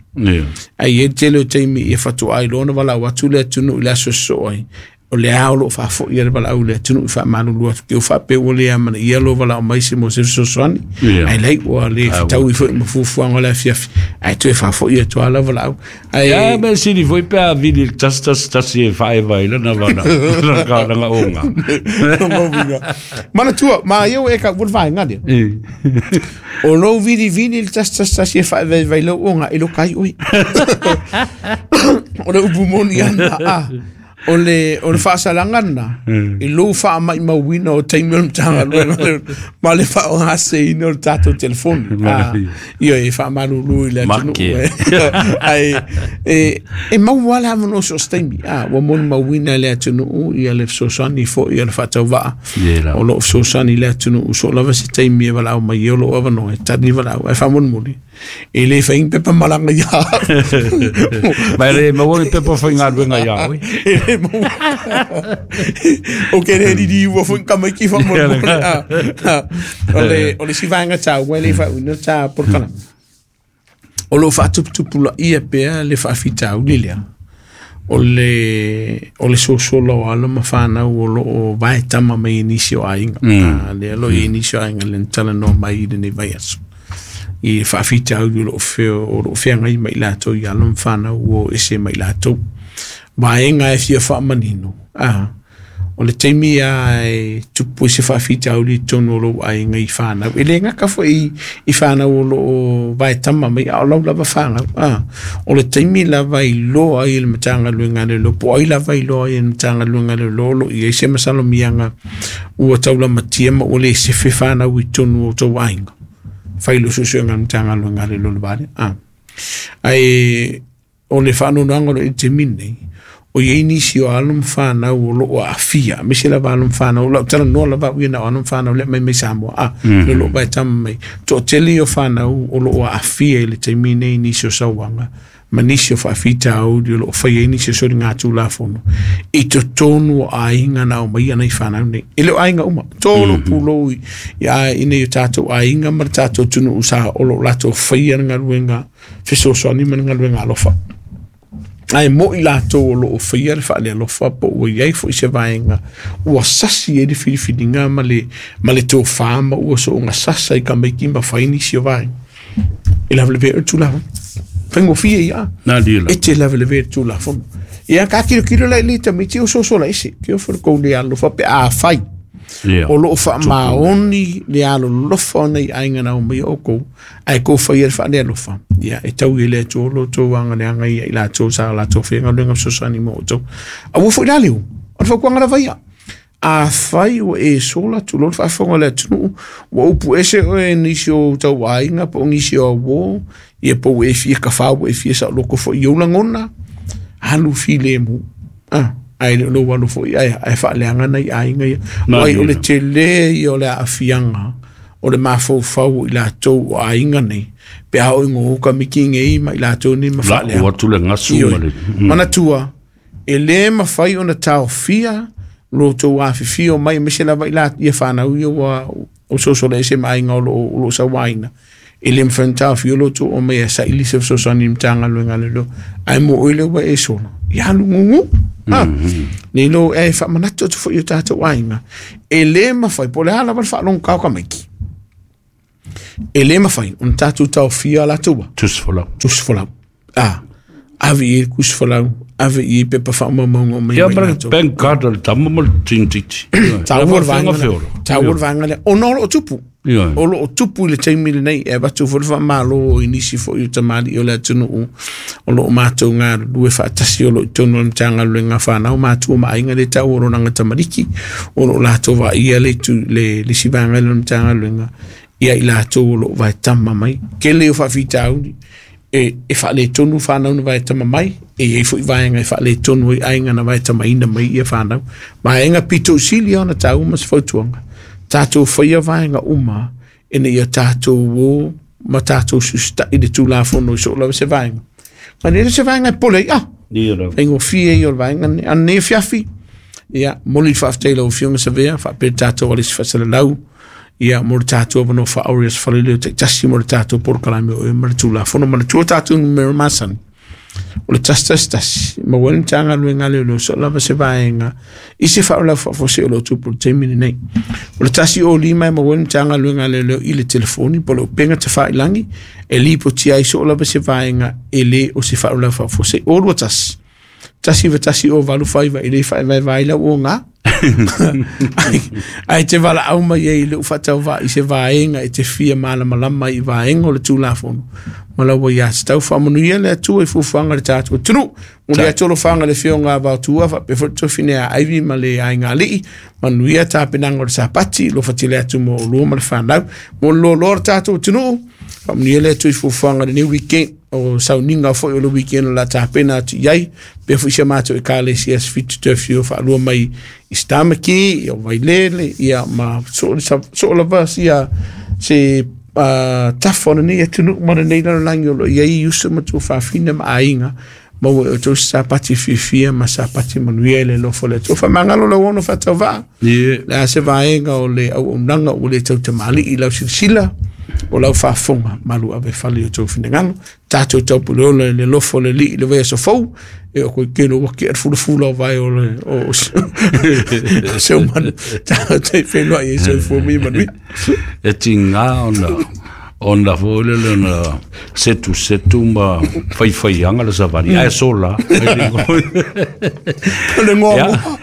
Ai e tele o taimi ia fatoa ai loa ona valaau atu le atunuu i le aso sosoo ai. O le ao loo faafo'i le valaau le atunuu i faamalulu atu ke o faapea ua le amanaia lo valaau mai se mo se fesoasoani. Ai lai ua le fetaui foi ma fuafuaga o le afiafi ae toe faafo'i atu a la valaau. Ai ia me sili foi pe a vili le tasi tasi tasi e faaeva i lana vala lana oga. Manatua ma ia ua e ka ua le vaega lea. O lou vilivili le tasi tasi tasi e faaevaeva i lau oga e lo kai oe. O le upu moni ana a. O le o le faasalaga lena i lou faamaimauina o taimi o le Matagaluega ma le faaaogaseina o le tatou telefoni. Ioe e faamalulu i le atunuu ai e e maua le avanoa so o se taimi. Ua molimauina e le atunuu ia le fesoasoani foi ia le faatauvaa o loo fesoasoani i le atunuu so lava se taimi e valaau mai o loo avanoa e tali valaau ae faamolemole e le fai pepa malaga ia. Ma le maua ni pepa faigaluega ia oe. E le maua. O ke le riri ua foi kamaiki faamolemole. O le o le isi vaega taua e le faauina ta polokalame. O loo faatuputupulaia pea le faafitauli lea. O le o le sosola o alo ma whanau o loo vae tama mai i nisi o aiga. Lea lo i nisi o aiga le talanoa mai i lenei vaiaso. I faafitauli o loo feo o loo feagai mai latou i alo ma whanau o ese mai latou. Vaega e fia faamanino. Ah, o le taimi a e tupu i se faafitauli i totonu o lou aiga i whanau. E le gaka foi i whanau o loo vae tama mai a o lau lava whanau. Ah, o le taimi lava i loa ai le Matagaluega a le Leoleo, po ai lava i loa ai le Matagaluega a le Leoleo lo i ai se masalomiaga ua taulamatia ma ua le sefe whanau i totonu o tou aiga. Fai lo suesuega a le Matagaluega a le Leoleo le vale. Ah, ai o le faanoanoaga o lo i taimi nei, o iai nisi o alo ma whanau o loo aafia, aemaise lava alo ma whanau, lau talanoa lava au ia na o alo ma whanau lea mai mai Samoa, ah, le loo vae tama mai. Toatele o whanau o loo aafia i le taimi nei nisi o sauaga, ma nisi o faafitauli o loo faia ai nisi o soligatulafono, i totonu o aiga na aumai ana i whanau nei. E le o aiga uma, tolo pulou i i nei o tatou aiga ma le tatou atunuu sa o loo latou faia le galuega fesoasoani ma le galuega alofa. Ai mo i latou o loo faia le faalealofa po ua iai foi se vaega ua sasi ai le filifiliga ma le ma le tofā ma ua sooga sasa i tamaiti ma fai nisi o vaega. E lavelavea le tulafono. Faigofie ia. E te lavelavea le tulafono. Ia ka kilokilo la i le tamaiti o sosola ese. Ke o fo le kou le alofa pe a fai. O loo faamaoni le alolofa o nei aiga na aumai o kou ae kou faia le faalealofa. Ia e tau i le Atua o lo outou agaleaga ia i latou sa latou faigaluega fesoasoani mo outou. Aua foi la leo, o le fautuaga lava ia. A fai ua e sola tulou le faafofoga o le atunuu, ua upu ese oe nisi o tau aiga po o nisi o auō, ia po ua e fia kafā ua e fia saoloko foi i ou lagona, alu filemu. Ah, ai le lou alo foi ai ai faaleaga nai aiga ia. O ai o le tele ia o le aafiaga o le mafaufau i latou o aiga nei pe a o i ka miki ngei ma i latou nei ma faaleaga. Lau atu le gasu ma le Manatua e lē mafai ona taofia lo tou afifio mai aemaise lava i la ia whanau ia ua o sosola ese ma aiga o loo o loo sauaina. E le mafai ona taofia lo tou o mai e saili se fesoasoani i le Matagaluega a le Leoleo ae mo oe lea ua e sola ia alu gugu. Ah, nei lo e faamanatu atu foi i o tatou aiga. E lē mafai po o le a lava le faalogokao tamaiti. E lē mafai ona tatou taofia latou Tusi folau. Tusi folau. Ah, Ave i tusi folau, ave i pepa faamaumauga o mai Ia mai ma le latou. Bank card a le tama ma le tintiti. Taua le vaega lea. Taua le vaega lea. Ona o loo tupu. Ioe. O loo tupu i le taimi lenei e avatu foi le faamalo i nisi foi o tamalii o le atunuu o loo matou galulue faatasi o loo i totonu o le Matagaluega fanau matua ma aiga le tau o lonaga tamaliki o loo latou vaaia le itu le le isi vaega lea o le Matagaluega ia i latou o loo vaetama mai tele o faafitauli e e faaletonu fanau na vaetama mai e iai foi vaega e faaletonu ai aiga na vaetamaina mai ia fanau vaega pito sili ona taua ma se fautuaga tatou faia vaega uma ina ia tatou o ma tatou susita'i le Tulafono i soo lava se vaega. Ma le se vaega e pole ai, ah, Ia lava. faigofie ia o le vaega lenei. A nei fiafi, ia, moli le faafetai i lau Afioga Savea, faapea le tatou alisi faasalalau, ia, mo le tatou avanoa faaori aso Faraile o taitasi mo le tatou polokalame o e ma le Tulafono. Manatua tatou numera masani, o le tasi tasi tasi, maua ai le Matagaluega a Leoleo soo lava se vaega i se faalavelave faafuasei o loo tupu i le taimi lenei. O le tasi o lima e maua ai le Matagaluega a Leoleo i le telefoni po o le upega tafailagi e lipotia ai soo lava se vaega e le o se faalavelave faafuasei. O lua tasi, tasi iva tasi o valu faiva e le faavaevae lau oga. Ai, ai te valaau mai ai i lou faatauvaa i se vaega e te fia malamalama i vaega o le Tulafono. Ma lau ia tatau faamanuia le Atua i fuafuaga o le tatou atunuu. Mo le atu alofaga le Afioga a Vaotua faapea foi le tofine a Aivi ma le aiga alii. Manuia tapenaga o le Sapati, alofa tele atu mo olua ma le fanau. Mo le loaloa o le tatou atunuu, faamanuia le Atua i fuafuaga o lenei weekend o sauniga foi o le weekend o la tapena atu i ai. Pea foi si a matou ekalesia se fitu te afio faalua mai i Stamaki, ia o Vailele, ia ma so, so lava sia se uh, tafa o lenei atunuu ma lenei lalolagi o loo i ai uso ma tuafafine ma aiga maua e outou se sapati fiafia ma sapati manuia i le alofa o le Atua. Faamagalo lau ono faatauvaa. Ie. Le a se vaega o le auaunaga ua le tautamalii i lau silasila o lau faafofoga malu ave fale i o tou finagalo. Tatou taupuleola i le alofa o le Alii i le vaiaso fou e o koe kelo ua kea le fulafula o vae o le o o se o manu. Tatou te whenua i e soifua ma ia manuia. E tiga ona ona foi lele ona setu setu ma faifaiaga le savali ae sola. O le ngoa Ia. moa.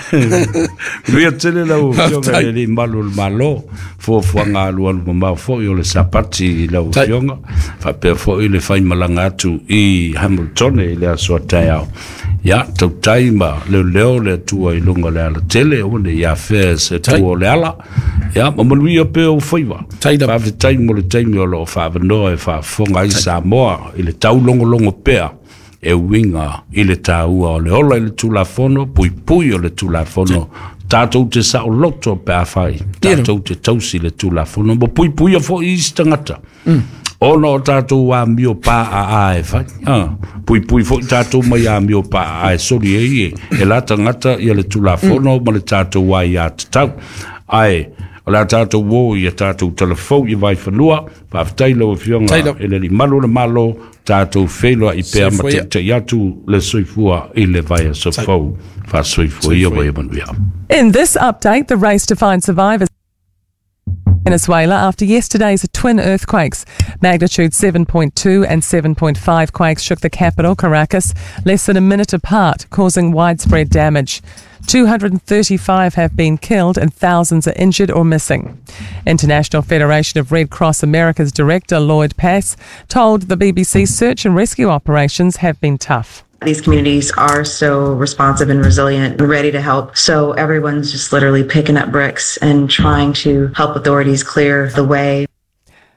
Manuia tele lau Afioga Faafetai. i le Alii Malu o le Malo, fuafuaga alualu mamao foi o le Sapati i lau Tai. Afioga, faapea foi le faimalaga atu i Hamiltone i le aso a taeao. Ia, tautai ma leoleo le Atua i luga o le alatele, aua ne i afea e se Tai. tua o le ala. Ia, ma manuia pea ou faiva. Tai lava. Faafetai mo le taimi o loo faavanoa e faafofoga ai Samoa i le taulogologo pea e uiga i le taua o le ola i le Tulafono, puipui o le Tulafono, tatou te saoloto pe afai, tatou te tausi le Tulafono, ma puipuia foi isi tagata. Ona o tatou amio pā'a'a e fai. Ah, puipui foi tatou mai amio pā'a'a e soli ai e, e la tagata ia le Tulafono ma le tatou aiā tatau. Ae, o le a tatou o ia tatou talafou i vaifanua, faafetai lau Afioga Tai lava. e le Alii Malu o le Malo, tatou feiloai pea ma Soifua ia. taita'i atu le soifua i le vaiaso fou. Faasoifua ia ma ia manuia. In this update, the race to find survivors Venezuela after yesterday's twin earthquakes. Magnitude seven point two and seven point five quakes shook the capital, Caracas, less than a minute apart, causing widespread damage. two hundred thirty-five have been killed and thousands are injured or missing. International Federation of Red Cross America's director, Lloyd Pass, told the B B C search and rescue operations have been tough. These communities are so responsive and resilient and ready to help. So everyone's just literally picking up bricks and trying to help authorities clear the way.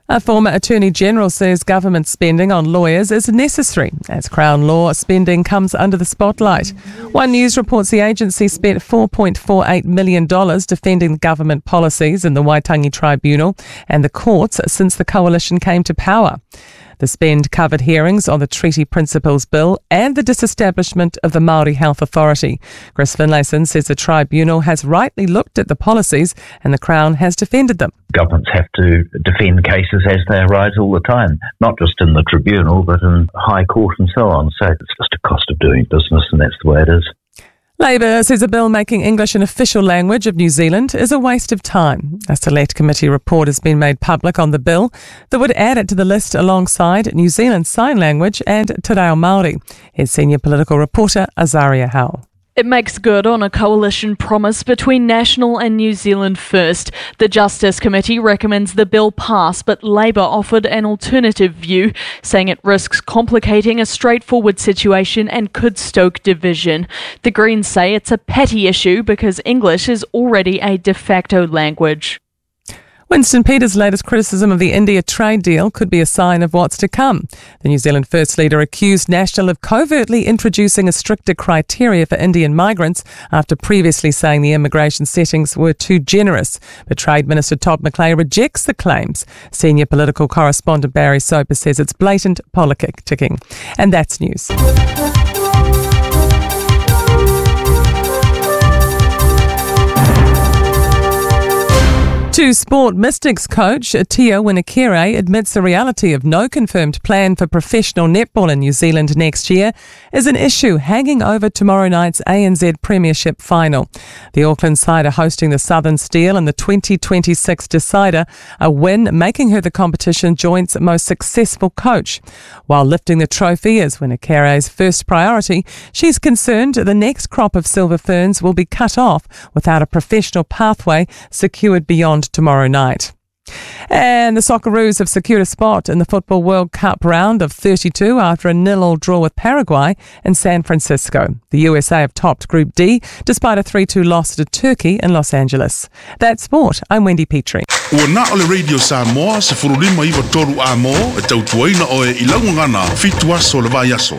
A former Attorney General says government spending on lawyers is necessary as Crown law spending comes under the spotlight. One News reports the agency spent four point four eight million dollars defending government policies in the Waitangi Tribunal and the courts since the coalition came to power. The spend covered hearings on the Treaty Principles Bill and the disestablishment of the Māori Health Authority. Chris Finlayson says the tribunal has rightly looked at the policies and the Crown has defended them. Governments have to defend cases as they arise all the time, not just in the tribunal, but in high court and so on. So it's just a cost of doing business, and that's the way it is. Labour says a bill making English an official language of New Zealand is a waste of time. A select committee report has been made public on the bill that would add it to the list alongside New Zealand Sign Language and Te Reo Māori. Here's senior political reporter Azaria Howell. It makes good on a coalition promise between National and New Zealand First. The Justice Committee recommends the bill pass, but Labour offered an alternative view, saying it risks complicating a straightforward situation and could stoke division. The Greens say it's a petty issue because English is already a de facto language. Winston Peters' latest criticism of the India trade deal could be a sign of what's to come. The New Zealand First leader accused National of covertly introducing a stricter criteria for Indian migrants after previously saying the immigration settings were too generous. But Trade Minister Todd McClay rejects the claims. Senior political correspondent Barry Soper says it's blatant politicking. And that's news. To sport, Mystics coach Tia Winikerei admits the reality of no confirmed plan for professional netball in New Zealand next year is an issue hanging over tomorrow night's A N Z Premiership final. The Auckland side are hosting the Southern Steel in the twenty twenty-six decider, a win making her the competition joint's most successful coach. While lifting the trophy is Winikerei's first priority, she's concerned the next crop of Silver Ferns will be cut off without a professional pathway secured beyond tomorrow night. And the Socceroos have secured a spot in the Football World Cup round of thirty-two after a nil-all draw with Paraguay in San Francisco. The U S A have topped Group D despite a three two loss to Turkey in Los Angeles. That's sport. I'm Wendy Petrie. Ua na o le Radio Samoa, se furulima iwa toru a mo, e tautuaina oe i laungana, fitu aso le vai aso.